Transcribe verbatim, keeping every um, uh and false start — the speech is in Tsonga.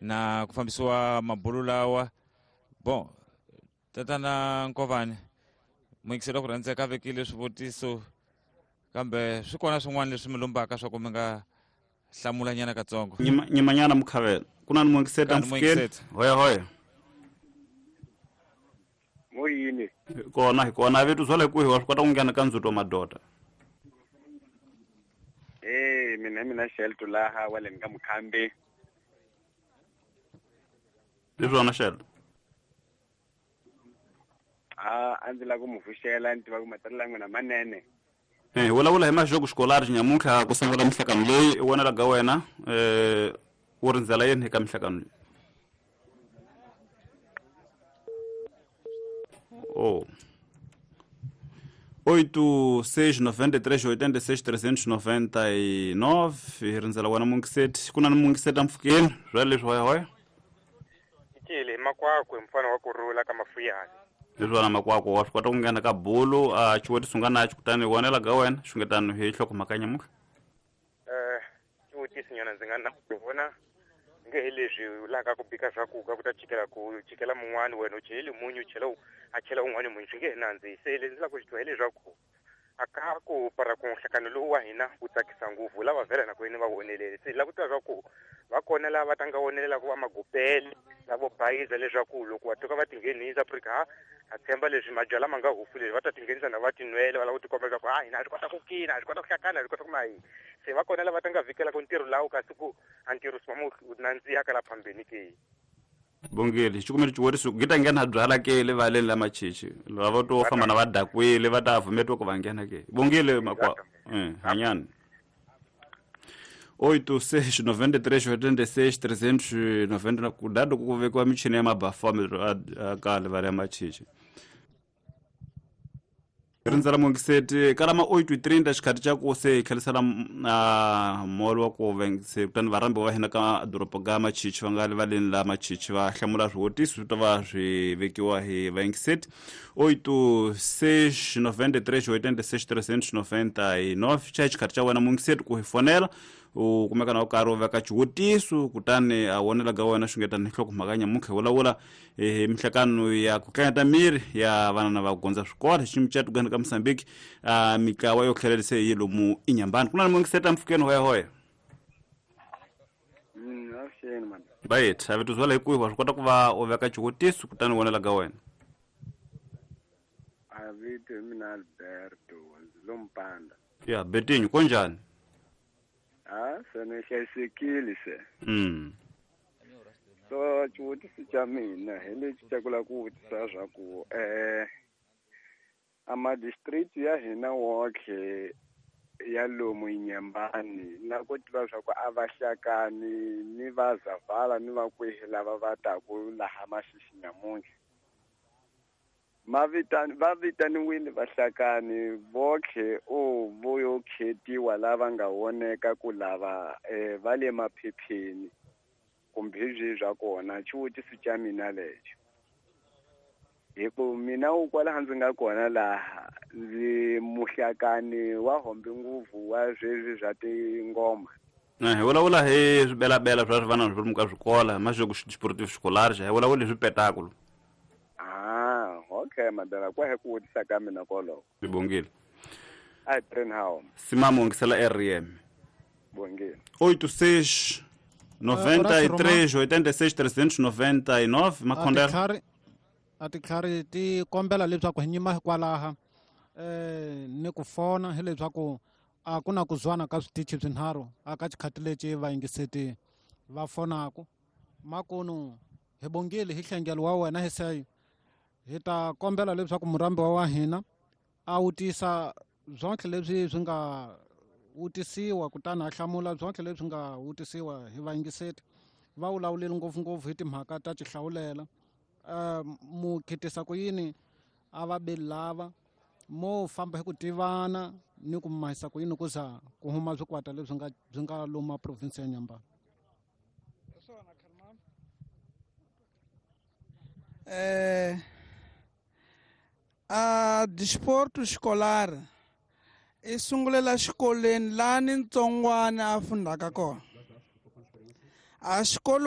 Na ku fambisiwa mabulu lawa. Bon, tatana Nkovani, muyingiseri wa ku rhandzeka a vekile swivutiso kambe swi kona swin'wana leswi mi lombaka swa ku mi nga hlamulanyana katsongo. Nyimanyana mukhavela. Ku na ni muyingiseri Ka ni mfukeni. muyingiseri. Hoya hoya. Moyini. Kona hi kona vetu swa le kwihi wa swi kota ku nghena ka ndzhuto madoda. Eh, mina mina Shelto laha wa le ka Mukhambi. Hi swona Shelto. Ah, a ndzi lava ku mu pfuxela ni tiva ku matsalelo ya n'wina manene. Eh, vulavula hi maxoko xikolari nyamuntlha ku sungula mihlangano leyi i vonela ka wena, eh, u rindzela yini eka mihlangano leyi? Oh. Oito, seis, noventa e três, oitenta e seis, trezentos e noventa e nove. Hi rindzela wena Mungiseti. Ku na ni Mungiseti mpfhukeni, swa leswi hoya hoya. Ncile, makwakwe mfana wa kurhula ka Mafuyani. Leswi wena makwakwe wa swi kota ku nghena ka bulu, a xivutiso nga na xi kutani vonela ka wena, xungetano hi nhlokomhaka nyamuntlha. Eh, xivutiso nyana ndzi nga na ku vona nge hi leswi vulaka ku bika swakudya ku ta chikela ku chikela mun'wani wena u cheleli munyu u chela u a chela un'wani munyu swi nge he nandzihi. Se leswi ndzi lava ku swi twa hileswaku a ka ku para ku nhlangano lowu wa hina wu tsakisa ngopfu lava vhela na ku yini va wonelele. Se hi lava ku tiva swa ku va kona lava ta nga wonelela ku va magupele lavo bayiza leswaku loko va tuka va tinghenisa Afrika ha ha tshemba leswi mabyalwa ma nga hufu leswi va ta tinghenisa na va tinwele va lava ku tikomba leswaku ha hina ha swi kota ku kina, ha swi kota ku hlakana, ha swi kota ku mahi. Se va kona lava ta nga vhikelaka ntirho lawo kasi ku a ntirho swi va wu nandziha ka la phambeni ke. Bongile, xikumelo xivuriso ku ta nghena byala ke le valeni la machichi lava to famba na va dakwile va ta vumetiwa ku va nghena ke. Bongile makwa eh hanyani. Oito, seis, noventa e três, oitenta e seis, trezentos e noventa na kudado ku vekiwa michini ya mabafomero a ka le vale ya machichi. Rindzela Mungiseti kalama oito e trinta xikhathi xa ku se hi tlherisela a molo wa ku vengise kutani varhambi va hina ka doroba ka Machichi va nga le valeni la Machichi va hlamula swivutiso swi ta va swi vekiwa hi vayingiseti. Oito, seis, noventa e três, oitenta e seis, trezentos e noventa e nove. Xa xikhathi xa wena Mungiseti ku hi fonela u kumeka na u karhi u veka xivutiso kutani a vonela ka wena xungetani nhlokomhaka nyamuntlha hi vulavula hi mihlangano ya ku tlangeta miri ya vana na va gondza swikolo hi xiyimo xa Uganda ka Mozambique a mitlawa yo tlhelerisa yi lomu Inyambani. Ku na ni Mungiseti mpfhukeni hoya hoya. Mm, avuxeni man. Right, a vito zwala hi kwihi wa swi kota ku va u veka xivutiso kutani u vonela ka wena. A vito hi mina Alberto ndzi lo Mpanda. Ya, Betinho konjani? Ah, se ni hlayisekile se. Mm. So xivutiso xa mina hi lexi xa ku lava ku vutisa swa ku eh a ma-district ya hina woxe ya lomu Inyambani na ku tiva swa ku a va hlakani ni va Zavala ni va kwihi lava va taku laha Maxixi nyamuntlha. Ma vitani va vitaniwile vahlakani voxe o vo yo khetiwa lava nga voneka ku lava eh, va le maphepheni kumbe hi byihi bya kona. Xivutiso xa mina lexo hi ku mina u kwalaha ndzi nga kona laha ndzi muhlakani wa hombe ngopfu wa sweswi swa tingoma. Eh, hi vulavula hi swibelabela swa swivana swi lomu ka swikola maxoko sportif scolaire hi vulavula hi swipetakulu. Ah, okay madala kwa hi ku vutisa ka mina koloko. Ni bongile. A hi train how. Simamo ngisela R M. Bongile. Oito seis noventa e três oitenta e seis trezentos e noventa e nove Makhondela. A titlhari ti kombela leswaku hi nyima hikwalaha eh ni ku fona hileswaku a ku na ku zwana ka switichi swinharhu aka xikhati lexi vayingiseti va fonaku. Makunu hi bongile hi hlengelo wa wena hi seyo hi ta kombela leswaku murhambiwa wa hina a wutisa byonke leswi swi nga wutisiwa kutani a hlamula byonke leswi nga wutisiwa hi vayingiseti. Va vulavulile ngopfungopfu hi timhaka ta xihlawulela. Uh, mu khitisa ku yini a va beli lava mo famba hi ku tivana ni ku mahisa ku yini ku za ku huma swikwata leswi nga byi nga luma province ya Nyambani. Eh, a desporto escolar i sungulela xikolweni lani ntsongwana a fundaka kona. A xikolo.